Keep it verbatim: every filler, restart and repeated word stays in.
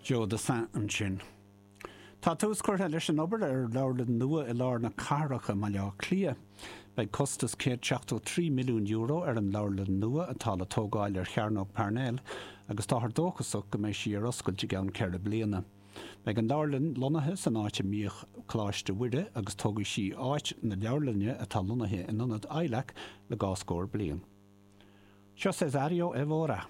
Joe Dassin ansin. Tá tús curtha leis an obair ar leabharlann nua i lár na cathrach i mBaile Átha Cliath. Beidh costas céad seachtó trí milliún euro ar an leabharlann nua atá le tógáil ar Chearnóg Parnell agus táthar dóchasach go mbeidh sí ar oscailt i gceann ceithre bliana. Beidh an leabharlann lonnaithe san áit a mbíodh Coláiste Mhuire agus tógfaidh sí áit na leabharlainne atá lonnaithe in ionad ILAC le dhá scór bliain. Seo Cesario Evora.